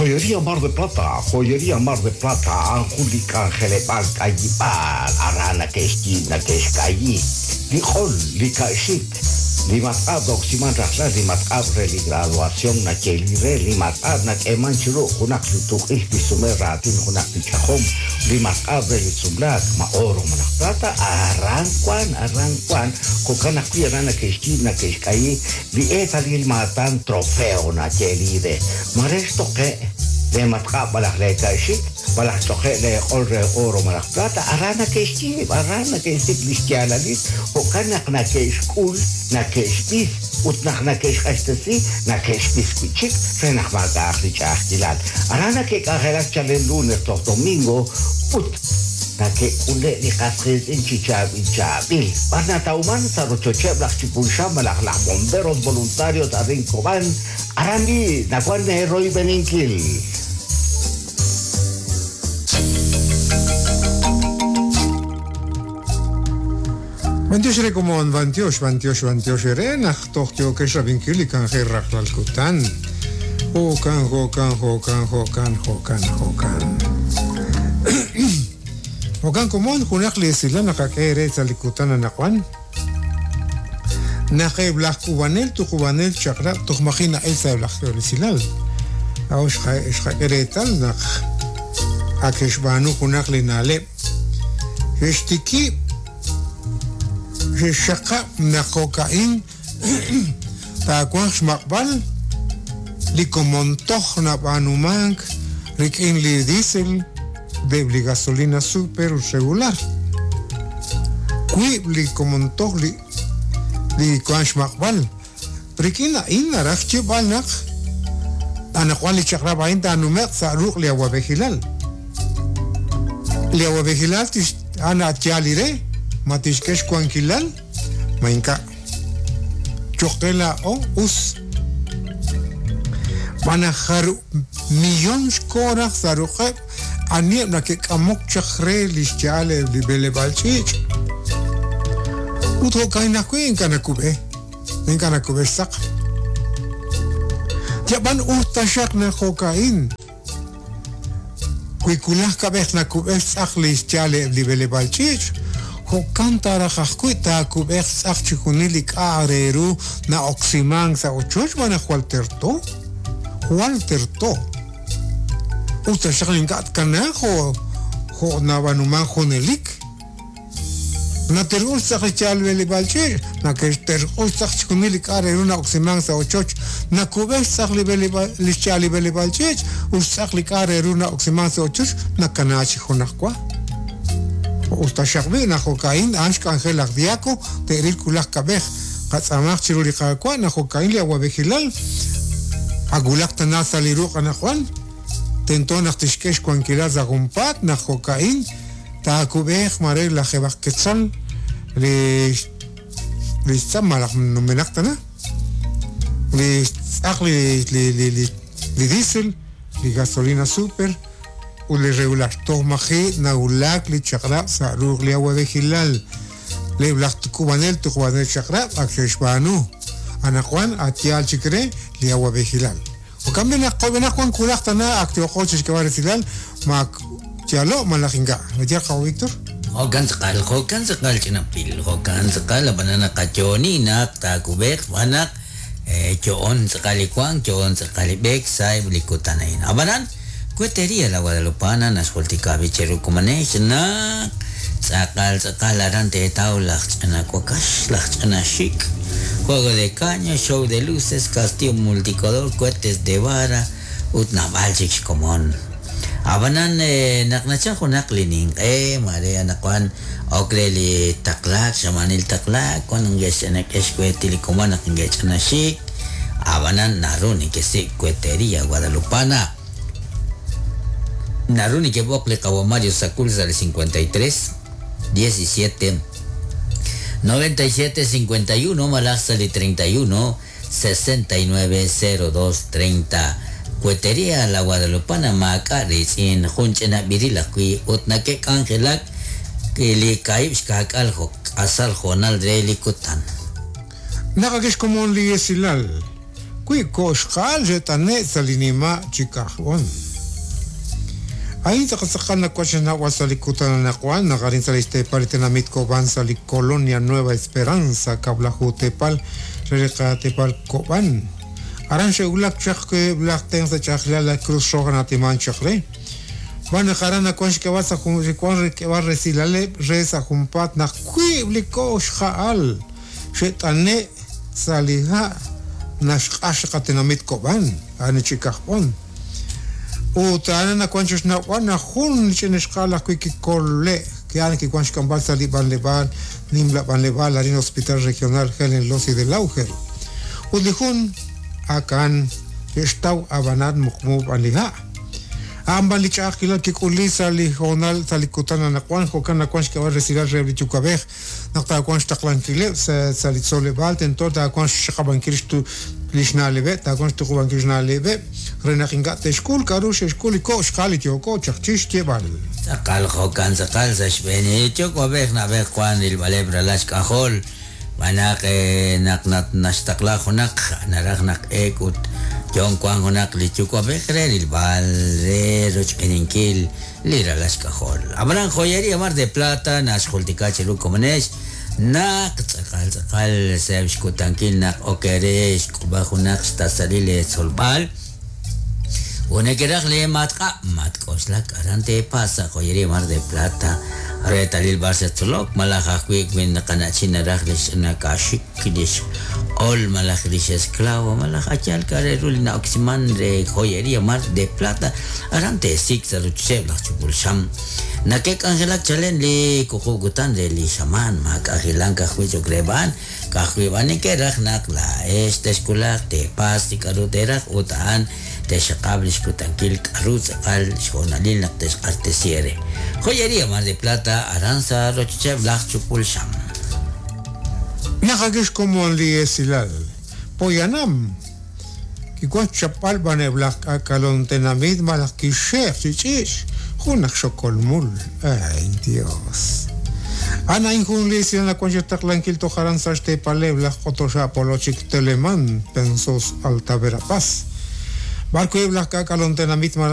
Joyería Mar de Plata, Joyería Mar de Plata, a'an jun li k'anjeleb'aal k'ayib'aal aran nake'xyiib' nake'xk'ayi li q'ol, li ka'xik, li matq'ab' na'oksiman rajlal, li matq'ab' re li graduación nayeeli re, li matq'ab' nak'eeman chi ru junaq li tuq'ixq tixsume raatin junaq li ch'ajom, li matq'ab' re li sumlaak, ma oro malaj plata, aran wan, aran wan, jo'kan ajwi' aran nake'xyiib' nake'xk'ayi li eetalil maatan trofeo nayeeli re. Ma re xtoqe' lee matq'ab' malaj lee ka'xik, malaj xch'oqe' lee q'ol re oro malaj plata, aran nake'xyiib', aran nake'xsik' li xyaalalil, jo'kan naq nake'xk'ul, nake'xb'is, ut naq nake'xq'axtesi, nake'xb'is wi' chik re naq maak'a'aq li ch'a'ajkilal. Aran nake'k'anjelak chalen lunes toj domingo ut nake'k'ule' li qas qiitz'in chi chaab'il chaab'il. B'ar natawman? Sa' rochocheb' laj Chipulxam malaj laj Bomberos Voluntarios arin Cobán, Aran b'i' nawank eeroyb'eninkil. B'antiox re komon, b'antiox, b'antiox, b'antiox eere naq toj yookex rab'inkil li k'anjel rajlal kutan. Jo'kan, jo'kan, jo'kan, jo'kan, jo'kan, jo'kan. Jo'kan komon, junaq li esilal naqak'e eere sa' li kutan anaqwan. Naq eb' laj k'uub'anel tuqub'anel chaq'rab' toj maji' na'el sa' eb' laj esilal, laa'o xqak'e reetal naq ak xe'xb'aanu junaq li na'leb', xe'xtikib' xe'xxaqab' naq jo'ka'in taawanq xmaq'b'al li komon toj nab'aanumank rik'in li diesel ut eb' li gasolina super ut regular. Wiib' li komon toj li li wank xmaq'b'al. Rik'in a'in naraj xyeeb'al naq anaqwan li chaq'rab' a'in taanume'q sa' ruq' li awab'ejilal. Li awab'ejilal tix a'an a' yaal li re ma tixk'e xwankilal ma ink'a'. Cho'q qe laa'o us. Xb'aan naq jarub' millón xko raj sa' ruq'eb' aniheb' nake'k'amok chaq re li xya'al eb' li b'eleb'aal ch'iich'. Ut jo'ka'in ajwi' ink'a' nakub'e, ink'a' nakub'e xtz'aq. Yab'an us taxaq naq jo'ka'in. Wi wulaj kab'ej nakub'e xtz'aq li xyaal eb' li b'eleb'aal ch'iich', jo'kan ta raj ajwi' taakub'eq xtz'aq chixjunil li k'a' re ru na'oksimank sa' ochoch xb'aan naq jwal terto, jwal terto. Us taxaq ink'a' tkanaaq jo' jo' nab'aanumank junelik. Naterq'ux tz'aq li yaal b'eleb'aal ch'iich', nake'xterq'ux tz'aq chixjunil li k'a' re ru na'oksimank sa' ochoch, nakub'e xtz'aq li b'eleb'aal li xyaal li b'eleb'aal ch'iich' ut xtz'aq li k'a' re ru na'oksimank sa' ochoch nakana chi junajwa. Us taxaq b'i' naq jo'ka'in a'an xk'anjel laj Diaco te'ril wulaj kab'ej, qatz'aamaq chiru li Qaawa' naq jo'ka'in li awab'ejilal ak wulak tana sa' li ruq' anaqwan, tento naq tixk'e xwankilal sa' junpaat naq jo'ka'in Taakub'eeq mare lajeeb'aq ketzal li li xtz'aq malaj numenaq tana li xtz'aq li li li li li diesel, li gasolina super ut li regular. Toj maji' nawulak li chaq'rab' sa' ruq' li awab'ejilal. Eb' laj k'uub'anel tuqub'anel chaq'rab' ak xe'xb'aanu. Anaqwan ak yaal chik re li awab'ejilal. Jo'kan b'i' naq qoyb'enaq wan wulaj tana ak yooqo chi xk'eeb'al resilal ma ak yaalo' malaj ink'a'. Ma yaal qawa' Víctor? Jo'kan tz'aqal, jo'kan tz'aqal ch'ina pil, jo'kan tz'aqal, ab'anan naqayo'oni naq taakub'eeq xb'aan naq yo'on tz'aqal li wank, yo'on tz'aqal li b'eek sa'eb' li kutan a'in. Ab'anan, Cuetería La Guadalupana naxjultika b'i' cheru komonex naq tz'aqal tz'aqal aran teetaw laj ch'ina wakax, laj ch'ina xik', juego de caña, show de luces, castillo multicolor, cohetes de vara ut naab'al chik xkomon. Ab'anan naq nachal junaq li ninq'e, maare anaqwan ok re li taqlaak, xamaanil taqlaak, wan nge'xch'inak'e xkueeti li komon naq nge'ch'ina xik', Ab'anan naru nekesik' Cuetería Guadalupana. Naru nekeb'oq li qawa' Mario Sacul sa' li 53 17 97 51 malaj sa' li 31 69 02 30. Cuetería La Guadalupana maak'a' riitz'in, jun ch'ina b'iril ajwi' ut nake'k'anjelak li kaahib' xkaak'al k'asal hoonal re li kutan. Naq ak xkomon li esilal. Wi ko'xqa'al xe't'ane' sa' li nima' chi kajb'on. A'in tz'aqal nawank xnawb'al sa' li kutan anaqwan naq arin sa' li xteepal li tenamit Kob'an sa' li Colonia Nueva Esperanza kab'laju teepal re li qateepal Kob'an. Aran xe'wulak chaq laj tenq' sa' ch'a'ajkilal la Cruz Roja na'atiman chaq re. Xb'aan naq aran nawank xk'eb'al sa' jun xe'wank xk'eb'al resilaleb' re sa' junpaat naq wiib' li ko'xqa'al xe't'ane' sa' li ha' naxq'ax li qatenamit Kob'an, a'an chi kajb'on. Ut a'an nawank chi xnawb'al naq jun li ch'ina xqa'al ajwi' kikole' ki'an kiwank xk'amb'al sa' li b'anleb'aal nimla b'anleb'aal arin Hospital Regional Helen Lossi de Lauger. Ut li jun akan xe'xtaw ab'anan muqmu b'an li ha'. A'an b'an li ch'a'ajkilal kik'uli sa' li hoonal sa' li kutan anaqwan jo'kan nawank xk'eb'al resilal reheb' li yuwa'b'ej naq taawanq xtaqlankileb' sa' li tzoleb'aal tento taawanq xxaqab'ankil li xna'leb'eb' taawanq xtuqub'ankil xna'leb'eb' re naq ink'a' te'xk'ul k'a'ru xe'xk'ul li ko' xqa'al li yooko chaq chi xyeeb'al. Tz'aqal jo'kan tz'aqal sa' xb'een li yuwa'b'ej na'b'ej wank rilb'aleb' ralal xk'ajol xb'aan naq naq naxtaqla junaq naraj naq eek ut yo'on wank junaq li yuwa'b'ej re rilb'al re rochb'eeninkil li ralal xk'ajol. Ab'anan Joyería Mar de Plata naxjultika chiru komonex naq tz'aqal tz'aqal sa'eb' xkutankil naq ok re xk'ub'a junaq xtasalil li tzolb'al ut neke'raj li matq'ab' matk'oxlak aran teepas sa' Joyería Mar de Plata reetalil b'ar xetzolok malaj ajwi' wi naqana'chin naraj li xch'ina kaaxik li xq'ol malaj li xesclavo malaj ayal k'a' re ru li na'oksiman re Joyería Mar de Plata aran teesik' sa' rochocheb' laj chupul xam nake'k'anjelak chalen li wuqub' kutan re li xamaan maak'anjelank ajwi' cho'q re b'an ka'ajwi' b'an neke'raj naq laa'ex texwulaq teepas li k'a'ru teeraj ut a'an texaqab' li xkutankil k'a'ru tz'aqal xhoonalil naq texq'axtesi eere. Joyería Mar de Plata aran sa' rochocheb' laj chupul xam. Naq ak xkomon li esilal poyanam kiwank xchapb'al b'an eb' laj k'aak'alom tenamit malaj kixxe'j chi ch'iich' jun aj xokol mul. Ay Dios. A'an a'in jun li esilal nawank xtaqlankil toj aran sa' xteepaleb' laj Q'otoxa' Polochik Teleman Pensos Alta Verapaz. B'ar wi' eb' laj k'aak'alom tenamit malaj.